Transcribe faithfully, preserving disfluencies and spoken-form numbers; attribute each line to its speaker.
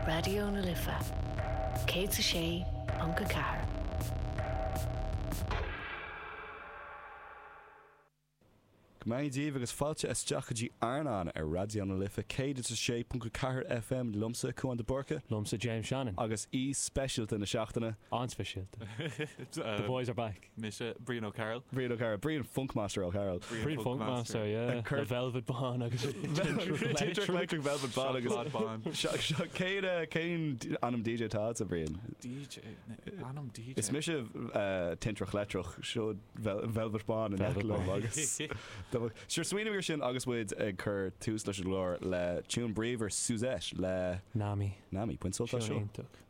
Speaker 1: Raidió na Life céad a sé ponc a ceathair.
Speaker 2: Go mbeannaí Dia daoibh agus fáilte isteach go dtí Airneán ar Raidió na Life céad is a sé ponc a ceathair FM liomsa, Cúán de Búrca.
Speaker 3: Liomsa James Shannon.
Speaker 2: Agus aoi speisialta na seachtaine.
Speaker 3: An-speisialta. The boys are back.
Speaker 4: Mise Brian O'Carroll.
Speaker 2: Brian O'Carroll. Brian Funkmaster O'Carroll.
Speaker 3: Brian Funkmaster, yeah.
Speaker 2: Cur-
Speaker 3: Le Velvet Bán agus
Speaker 2: Electric Electric Velvet Bán agus
Speaker 4: Seacláid Bán.
Speaker 2: Cén eh, cén ainm DJ atá agatsa, Brian?
Speaker 4: DJ ainm DJ.
Speaker 2: Is mise eh, Tintreach Leictreach seo Vel- Velvet Bán in
Speaker 3: Velvet
Speaker 2: liom
Speaker 3: Bán.
Speaker 2: agus Sure smaoinigh ar sin agus muid ag cur tús leis an gclár le tune bríomhar Suzette le
Speaker 3: Nami.
Speaker 2: Nami, bain sult as
Speaker 3: Seo
Speaker 2: seo.
Speaker 3: iontach.